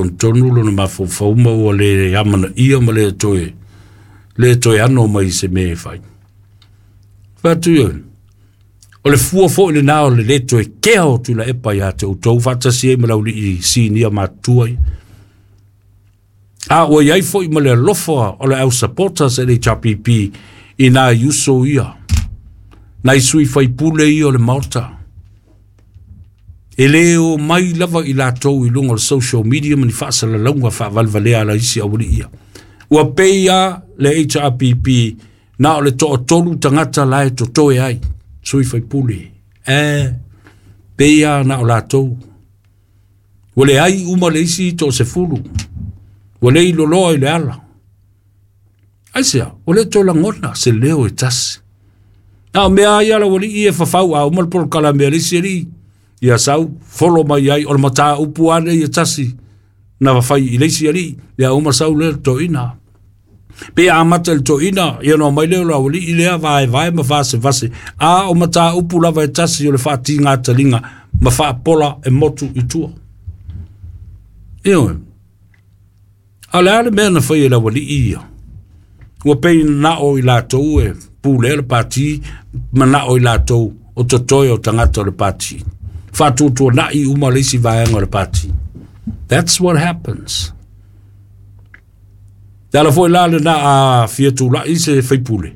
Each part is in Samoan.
faatonutonu lona mafaufau ma ua le amanaia ma le toe ano mai i se mea e fai. Fai atu ia, o le fua foi lenā o le lē toe kea o Tuilaepa ia te outou faatasi ai ma le aualii sinia matutua ia. A ua i ai foi ma le alofa o le au supporters a le HRPP i nai uso ia, nai sui faipule ia o le Maota. E lē o mai lava i latou i luga o le social media ma ni faasalalauga faavalevalea a isi aualii ia. Ua pei lava le HRPP na o le toatolu tagata la e totoe ai, sui faipule. Pei lava na o latou. Ua leai uma le isi toasefulu, ua le iloloa i le ala. Aisea? Ua le toe lagona se leo e tasi. A o mea ia laualii e fafau a uma le polokalame a le isi alii, ia sau folo mai ai o le mataupu lava lenei e tasi na fai i le isi alii, ia uma sau lea le toeaina. Pe amata i le toeaina, ia ona omai lea o le aualii lea vaevae ma vasevase, a o mataupu lava e tasi o le faatigataliga ma faapola e motu i tua. Ioe. A o le a le mea na fai e le aualii ia? Ua pei manao i latou e pulea le pati, manao i latou o totoe o tagata o le pati. Faatuatuanai uma le isi vaega o le pati. That's what happens. Le ala foi la lena a fia tulai se faipule,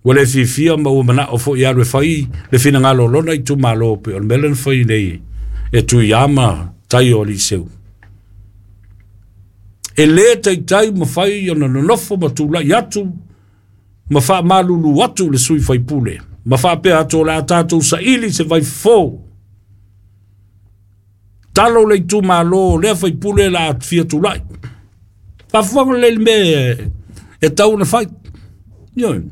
ua le fiafia ma ua manao foi e alu e fai le finagalo o lona itumalo pei o le mea lea na fai nei e Tuia ma tai o Aliseu. E lē taitai ma fai ona nonofo ma tulai atu ma faamalulu atu le sui faipule ma faapea atu o le a tatou saili se vaifofo. Talo le itumalo lea faipule la fia tulai. Faafofoga lelei le mea e tau ona fai. Ioe.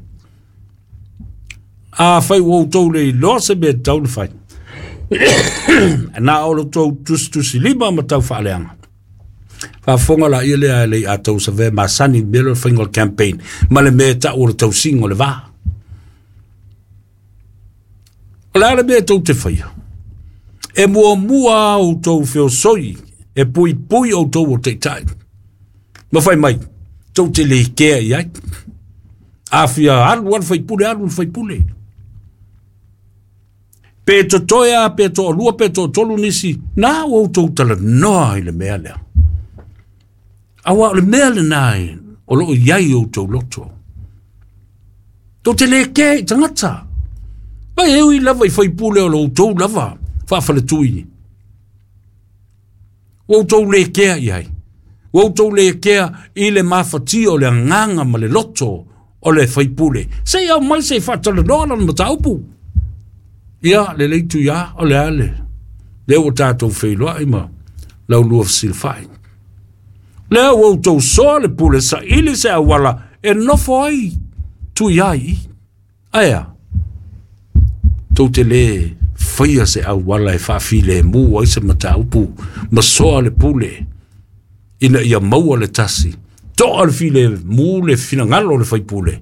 A fai ua outou le iloa se mea e tau ona fai, na o lo outou tusitusilima ma tau faaleaga. Faafofoga laia lea e le i a tau savea masani mea lea o le faiga o le campaign ma le mea e tau o le tausiga o le va. O le a le mea tou te faia? E muamua outou feosoi e puipui outou o taitai. Ma fai mai, tou te le kea i ai. A fia alu alu faipule, alu le faipule. Pe totoe a, pe toalua, pe toatolu nisi, na ua outou talanoa i le mea lea. Aua o le mea lenā o loo i ai outou loto. Tou te le kea i tagata. Vai e ui lava i faipule o lo outou lava faafaletui. Ua outou le kea i ai. Ua outou le kea i le mafatia o le agaga ma le loto o le faipule. Se i aumai se i faatalanoa lana mataupu. Ia, lelei Tuia, o le a le lea ua tatou feiloai ma laulua fesilafai. Lea ua outou soa le pule saili se auala e nofo ai Tuia i i. Aea, tou te lē faia se auala e faafilemu ai se mataupu ma soa le pule ina ia maua le tasi. Toa le filemu le finagalo o le faipule.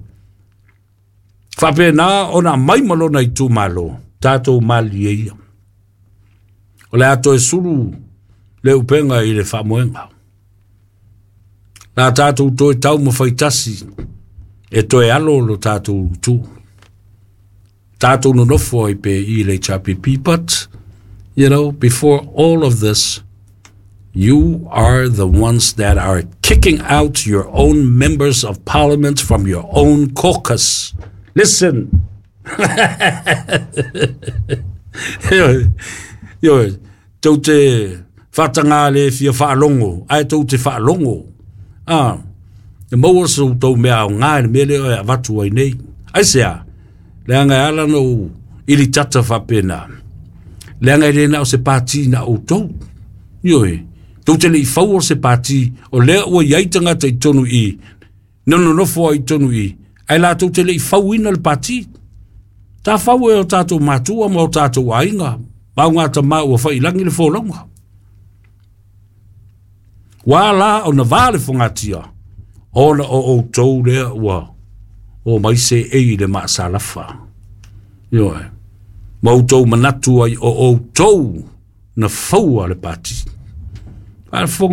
Faapena ona aumai ma lona itumalo, tatou malilie ia. O le a toe sulu le upega i le faamoega. La tatou toe taumafai tasi e toe alo lo tatou itu. Tatou nonofo ai pe i le HRPP, but, before all of this, you are the ones that are kicking out your own members of parliament from your own caucus. Listen. Ioe, tou te faatagā le fia faalogo, ae tou te faalogo. Ah, e maua se outou mea aoga i le mea lea e avatu ai nei. Aisea? Leaga e ala ona ou ilitata faapena. Leaga e le na o se pati na outou. Ioe, tou te le i faua se pati, o lea ua i ai tagata i totonu i i, na nonofo ai i totonu i i, ae latou te le i fauina le pati. Ta fau e o tatou matua ma o tatou aiga, ma o gatama ua fai i lagi le folauga. Ua ala ona va le fogatia, ona o outou lea ua o mai seei i le maasalafa. Ioe, ma outou manatu ai o outou na faua le pati. Faafofoga.